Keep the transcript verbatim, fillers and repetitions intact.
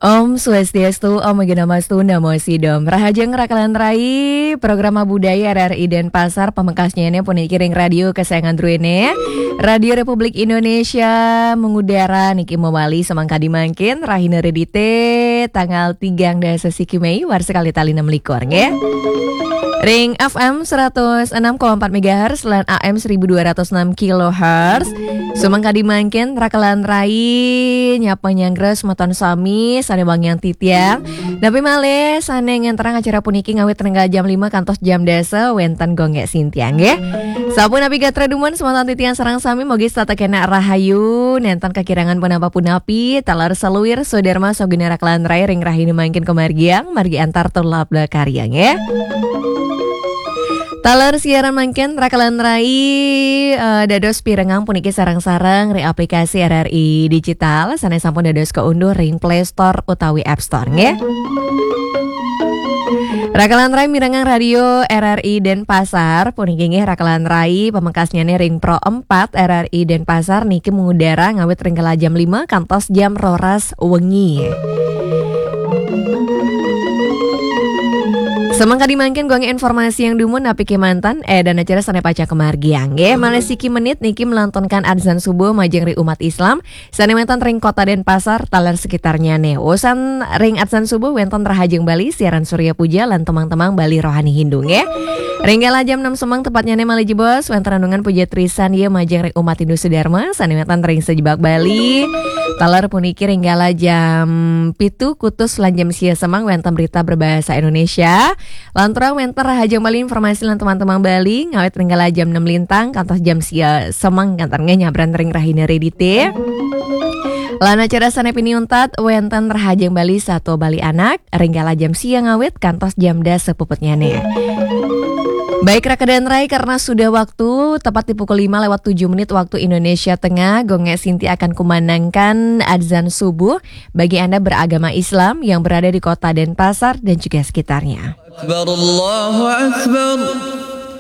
Om Swastiastu, Om Awignamastu, Namo Sidham. Rahajeng rakalan rai, program budaya R R I Denpasar, pamekasnyané puniki ring radio kesayangan druéné, Radio Republik Indonesia, mengudara niki mawali samangkadi mangkin, rahina Redité, tanggal tigang dasa siki Mei, warsa kalih tali enam likur, nggih. Ring F M seratus enam koma empat megahertz lan A M seribu dua ratus enam kilohertz. Sumangkadi mangkin rakalan rai nyapa nyanggra semeton sami sané wangiang titiang. Napi malih sané ngenterang acara puniki ngawit ring jam lima kantos jam dasa wénten Gung Gék Sintiang nggih. Sapunapi gatra dumun semeton titiang sareng sami mugi setata kénak rahayu, nénten kakirangan punapa-punapi, taler saluir sadarma saguna rakalan rai ring rahina mangkin kamargiang, margi antar tur labda karya nggih. Taler siaran mangkin rakalan rai, eh, dados pirengang puniki sareng-sareng ring aplikasi R R I Digital sané sampun dados kaunduh ring Play Store utawi App Store nggih. Rakalan rai mirengang radio R R I Denpasar puniki nggih rakalan rai pamekasnyané ring Pro empat R R I Denpasar niki mengudara ngawit ring kala jam lima kantos jam roras wengi. Semangkadi mangkin Gung informasiang dumun napi kémanten, eh, dan acara sané pacang kamargiang nggih. Malih siki menit niki melantunkan adzan subuh majeng ring umat Islam sané wénten ring Kota Denpasar taler sekitarnyané. Usan ring adzan subuh wénten Rahajeng Bali, siaran Surya Puja lan temang-temang Bali Rohani Hindu nggih. Ring kala jam enam semeng tepatnyané malih jebos wénten renungan puja trisan ya majeng ring umat Hindu sedharma sané wénten ring sajebag Bali. Taler puniki ring kala jam pitu kutus lan jam sia semeng wénten berita berbahasa Indonesia. Lanturang wénten Rahajeng Bali informasi lan temang-temang Bali ngawit ring kala jam enam lintang kantos jam sia semeng kénten nggih nyabran ring rahina Redité. Lan acara sané pinih untat wénten Rahajeng Bali Satua Bali Anak ring kala jam sia ngawit kantos jam dasa puputnyané. Baik rakalan rai, karena sudah waktu tepat di pukul lima lewat tujuh menit waktu Indonesia Tengah, Gung Gék Sinti akan kumandangkan adzan subuh bagi Anda beragama Islam yang berada di Kota Denpasar dan juga sekitarnya. Akbar, Allahu Akbar.